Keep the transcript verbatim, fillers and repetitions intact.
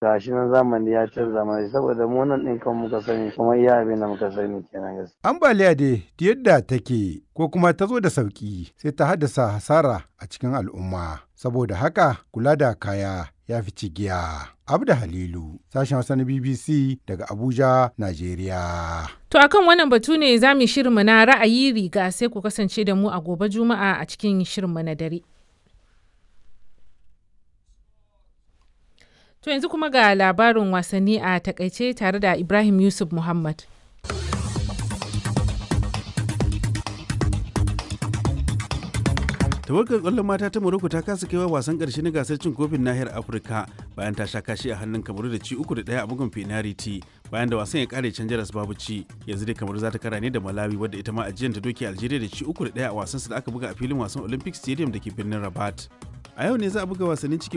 Gashi nan zamani ya canza mana saboda mu nan ɗin kan muka sani kuma iya abin da muka sani kenan gaskiya. Ambaliya dai yadda take ko kuma ta zo da sauƙi sai ta haddasa hasara a cikin al'umma. Saboda haka kula da kaya ya fi cigiya. Abda Halilu, sashen Hausa na B B C daga Abuja, Najeriya. To akan wannan batu ne za mu shirinmu na ra'ayi riga, sai ku kasance da mu a gobe Juma'a a cikin shirinmu na dare. To yanzu kuma ga labarin wasanni a takaice tare da Ibrahim Yusuf Muhammad. Tawagar kwallon mata ta Morocco ta kasa kaiwa wasan karshe na gasar cin kofin nahiyar Afirka bayan ta sha kashi a hannun Kamaru da ci uku da ɗaya a bugun penalty bayan da wasan ya kare can jaras babu ci. Yanzu dai Kamaru za ta kara ne da Malawi, wadda ita ma ajiyar ta doke Algeria da ci uku da ɗaya a wasan da aka buga a filin wasan Olympic Stadium da ke birnin Rabat. A yau ne za a buga wasannin cike